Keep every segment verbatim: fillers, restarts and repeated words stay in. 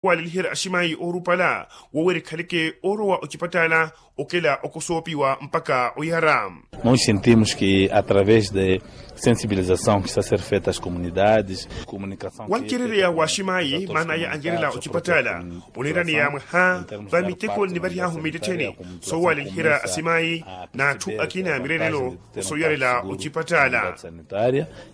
Waleliherya aximayi oorupala wowerikhaleke oorowa ocipattala okela okosoopiwa mpakha oyara. Nos sentimos ke através de sensibilização ke sa ser feita as comunidades. Wancerereya wa aximayi maana aya anyerela ocipattala oniiraneya mwaha va miteko nnivarihaahu mmittettheni soowaleliherya aximayi n'atthu akina mireerelo. Sooyarela ocipattala.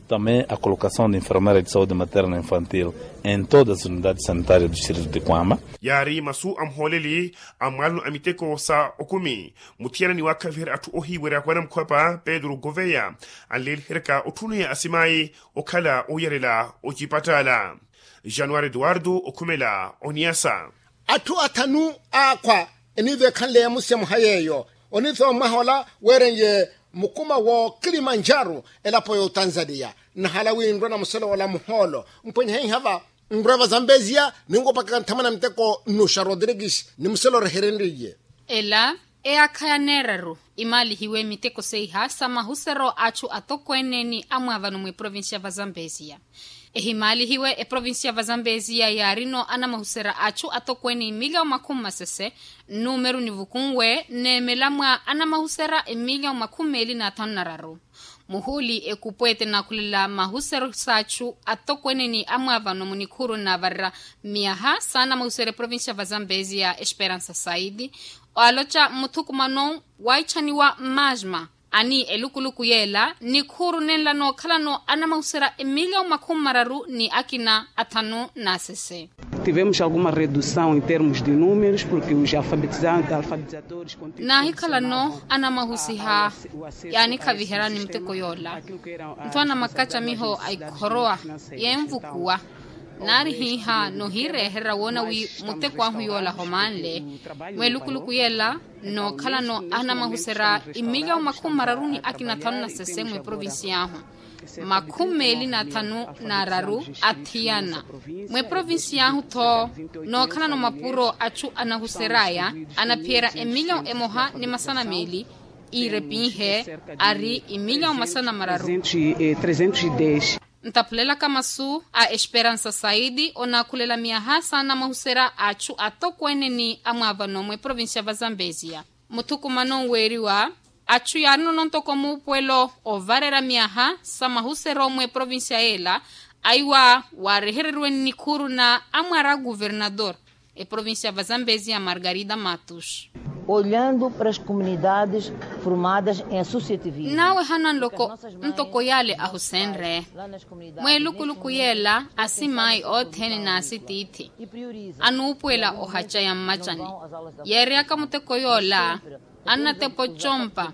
Também a colocação de enfermeira de saúde materna infantil em todas as unidades sanitárias do distrito de kwama. Yaari masu a muhooleli a mwaalano a miteko sa okumi muthiyana ni waakhaviherya atthu ohiiwerya kwa namukhwapa pedro goveya anleeliheryaka otthuneya asimayi okhala ooyarela ocipattala. Januwari eduwardo okhumela oniyasa. Atthu athanu aakhwa eniiveekhanleya musi a muha yeeyo oniithowa mwaha ola weeren'ye mukuma wo kilimanjaro elapo y'otanzaniya. Nnahala wi nrwe na muselo ola muhoolo mpwenye heiha va nrwe vazambeziya ninwopakaka nthamana miteko nnuxa rodrigues ni muselo oreherenryiye. Ela eyaakha ya neeraru imaalihiwe miteko seiha sa mahusero a atthu atokweene ni amwaavano mw'eprovincia vazambeziya. Ehimaalihiwe eprovincia vazambeziya yaarino anamahusera a atthu atokweene imiliyawu makhumi masese nnumeru nivukunwe neemela mwa anamahusera imiliyawu makhumi meeli n'athanu n'araru. Muhuuli ekupweete naakhulela mahusero sa atthu atokweene ni amwaavano munikhuru naavarera miyaha saana mahusero eprovincia vazambeziya esperansa saidi. Oaloca mmuthukumano waitthaniwa masma ani elukuluku yeela nikhuru nenla nookhalano anamahusera emiliyawu makhumi mararu ni akina athanu n'asese. Tivemos alguma redução em termos de números porque os alfabetizantes alfabetizadores naahikhalano anamahusiha yaanikhaviherani muteko yoola. Nto anamakacamiho a ikhorowa yeenvukuwa naari hiiha nohiireherya woona wi muteko ahu yoola homanle. Mweelukuluku yeela nookhalano anamahusera imiliyawu makhumi mararu ni akina thanu na sese mweprovincia ahu makhumi meeli na thanu na araru athiyana. Mweprovincia ahu tho nookhalano mapuro atthu anahuseraya anaphiyerya emiliyawu emoha ni masana meeli iirepinhe ari imiliyawu masana mararu. Ntaphulelaka masu a esperansa saidi onaakhulela miyaha saana mahuserya a atthu atokweene ni amwaavano mweprovincia vazambeziya. Muthukumano nweeriwa atthu yaarinono ntoko muupuwelo ovarerya miyaha sa mahuseryo mweprovincia yeela aiwa waarehereriwe nnikhuru na amwaara a kuvernador eprovincia vazambeziya margarida matus. Olhando para as comunidades formadas em associativismo. Naawehana nloko ntoko yaale ahusenre mweelukuluku yeela asimayi othene n'asitiithi anuupuwela ohaca ya mmacani yeereyaka muteko yoola annatepa ocompa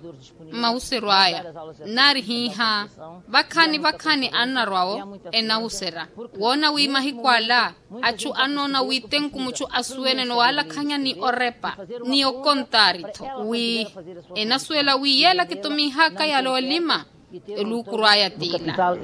mmahuseryo aya. Nnaari hiiha vakhani vakhani annarwawo enahuserya woona wi mahiku ala atthu annoona wi tenku mutthu asuwenene owaalakhanya ni orepa ni okontaari-tho wi enasuwela wi yeela kitumihaka yale olima eluukuru aya tiila.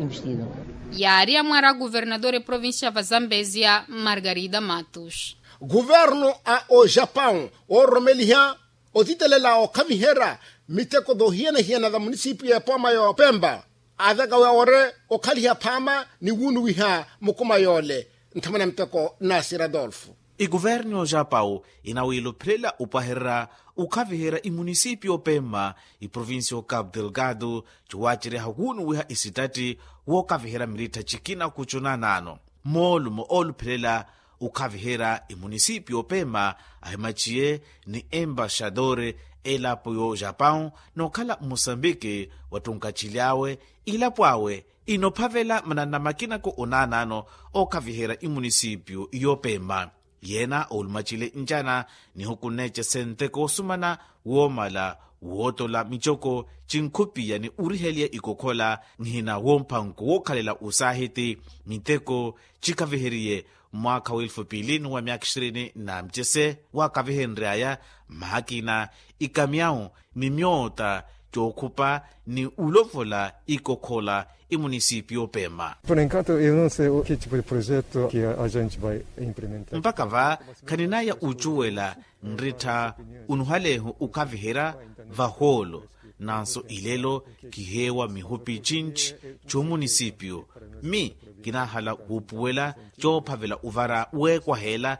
Yaari amwaara a kuvernador eprovincia vazambeziya margarida matus. Kuvernu a ojapão oororomeliha otitelela okhaviherya miteko toohiyana-hiyana tha munisipiyu ya epooma ya opempa aaveka wawore okhaliha phaama ni wuunuwiha mukuma yoole. Nthamana miteko nasi radolfo. Ikuverni ya ojapão inawiiluphelela opwahererya okhaviherya imunisipiyu opemma iprovincia ya ocapo delgado ciwaaceryaha wuunuwiha isitatti wookaviherya mirittha cikina kucunanano moolumo ooluphelela okhaviherya imunisipiyu opemma ahimaciye ni embaxadore elapo ya ojapão nookhala mmosambiki wattunkacily'awe ilapo awe inophavela mananna makinako onaanano ookhaviherya imunisipiyu yoopemma. Yeena oolumacile ncana nihuku nneecese nteko osumana woomala wootola micoko cinkhupiya ni oriheliya ikokhola nhina woompanku wookhalela osaahiti miteko cikhaviheriye mwaakha w'elfu piili ni wa myaakha ishirini na mcese waakavihenry'aya mmaakina ikamyawu ni myoota cookhupa ni ulovola ikokhola imunisipiyu opemma. Por enquanto eu não sei o que tipo de projeto que a gente vai implementar. Mpakha va khaninaya ocuwela nrittha onuhaleehu okhaviherya vahoolo nanso ilelo kiheewa mihupi cinci c'omunisipiyu mi kinahala wuupuwela coophavela uvara weekwaheela.